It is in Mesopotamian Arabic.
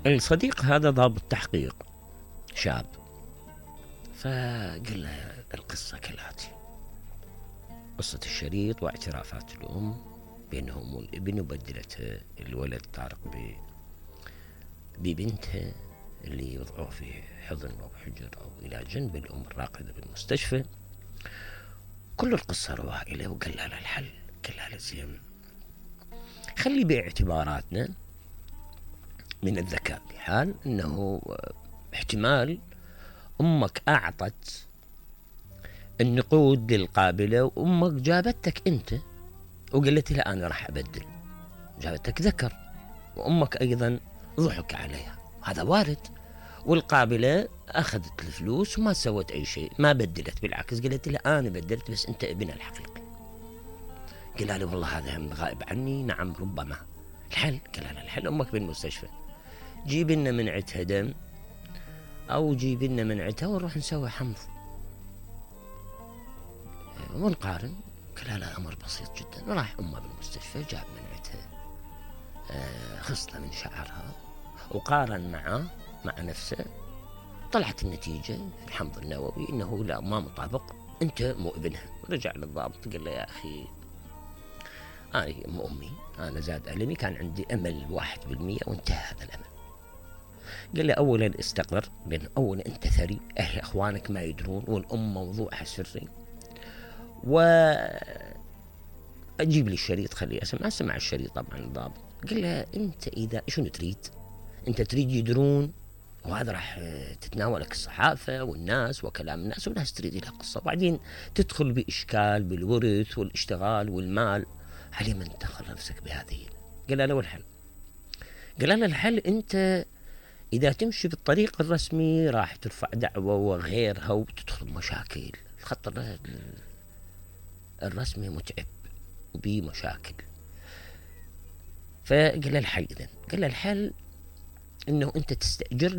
الصديق هذا ضابط تحقيق شاب، فقال له القصة كالآتي: قصة الشريط واعترافات الأم بينهم والابن، وبدلتها الولد طارق ببنتها اللي وضعوه في حضن أو حجر أو إلى جنب الأم الراقدة بالمستشفى. كل القصة رواها إليه وقال لها الحل. قال لها زين، خلي باعتباراتنا من الذكاء بحال أنه احتمال أمك أعطت النقود للقابلة وأمك جابتك أنت وقالت لها أنا راح أبدل، جابتك ذكر، وأمك أيضا ضحك عليها، هذا وارد. والقابلة أخذت الفلوس وما سوت أي شيء، ما بدلت، بالعكس قالت لها أنا بدلت بس أنت ابنها الحقيقي. قال له والله هذا هم غائب عني. نعم ربما. الحل؟ قال له الحل أمك بالمستشفى، جيب لنا منعتها دم أو جيب لنا منعتها ونروح نسوي حمض ونقارن. قال لا أمر بسيط جدا. راح أمه بالمستشفى، جاب منعتها، خصلة من شعرها، وقارن مع نفسه، طلعت النتيجة في الحمض النووي إنه لا، ما مطابق، أنت مو ابنها. رجع للضابط قال له يا أخي أنا أمي، أنا زاد ألمي، كان عندي أمل 1% وانتهى هذا الأمل. قال لي أولا استقر، لأن أولا أنت ثري، أهل أخوانك ما يدرون، والأم موضوعها سري، أجيب لي الشريط خليه أسمع الشريط طبعا الضابط. قال له أنت إذا شنو تريد؟ أنت تريد يدرون، وهذا راح تتناولك الصحافة والناس وكلام الناس، والناس تريد لها قصة، وبعدين تدخل بإشكال بالورث والاشتغال والمال، علي من تدخل نفسك بهذه. قال له الحل؟ قال له الحل أنت إذا تمشي بالطريق الرسمي راح ترفع دعوة وغيرها وتدخل مشاكل. الخط الرسمي متعب وبيه مشاكل. فقال له الحل إذن؟ قال له الحل إنه أنت تستأجر